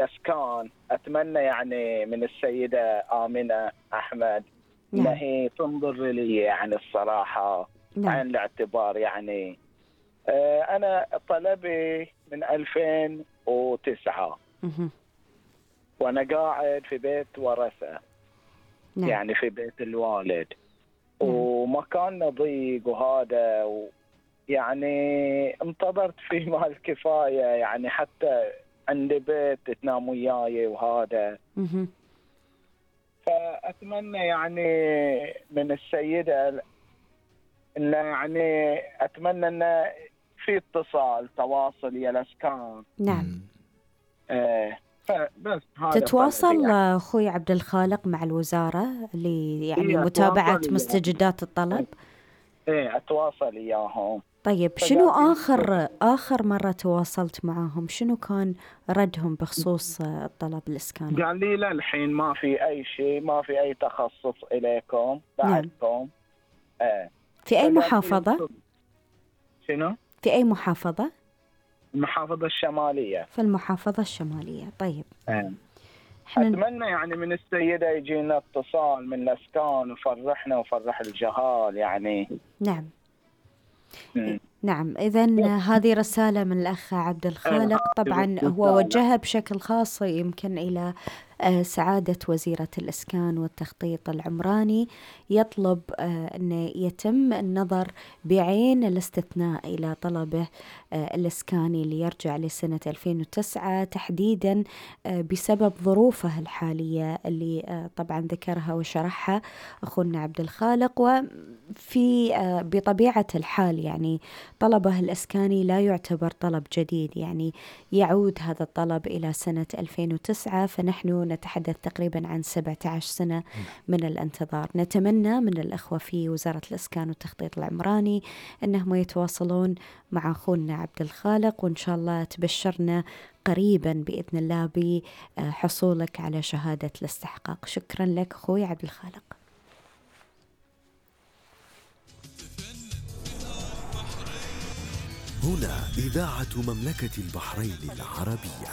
الإسكان أتمنى يعني من السيدة آمنة أحمد إن نعم. هي تنظر لي يعني الصراحة نعم. عين الاعتبار. يعني أنا طلبي من 2009 وأنا قاعد في بيت ورثة. نعم. يعني في بيت الوالد. نعم. ومكاننا ضيق وهذا يعني انتظرت فيه ما الكفاية. يعني حتى عندي بيت تنام وياي وهذا. فأتمنى يعني من السيدة إن يعني أتمنى إن في اتصال تواصل يا الأسكان. نعم. بس هذا تتواصل يعني. أخوي عبد الخالق مع الوزارة يعني إيه متابعة مستجدات الطلب؟ إيه أتواصل إياهم. طيب شنو آخر مرة تواصلت معهم؟ شنو كان ردهم بخصوص الطلب الإسكاني؟ قال لي لا الحين ما في أي شيء، ما في أي تخصص إليكم بعدكم. نعم. في أي محافظة؟ شنو؟ في أي محافظة؟ المحافظة الشمالية. في المحافظة الشمالية. طيب. أتمنى يعني من السيدة يجينا اتصال من الأسكان وفرحنا وفرح الجهال يعني. نعم. نعم. إذن هذه رسالة من الأخ عبد الخالق، طبعا هو وجهها بشكل خاص يمكن إلى سعادة وزيرة الإسكان والتخطيط العمراني، يطلب أن يتم النظر بعين الاستثناء إلى طلبه الإسكاني اللي يرجع لسنة 2009 تحديدا بسبب ظروفه الحالية اللي طبعا ذكرها وشرحها أخونا عبد الخالق. وفي بطبيعة الحال يعني طلبه الإسكاني لا يعتبر طلب جديد، يعني يعود هذا الطلب إلى سنة 2009، فنحن نتحدث تقريبا عن 17 سنة من الانتظار. نتمنى من الأخوة في وزارة الإسكان والتخطيط العمراني أنهم يتواصلون مع أخونا عبد الخالق، وإن شاء الله تبشرنا قريبا بإذن الله بحصولك على شهادة الاستحقاق. شكرا لك أخوي عبد الخالق. هنا إذاعة مملكة البحرين العربية.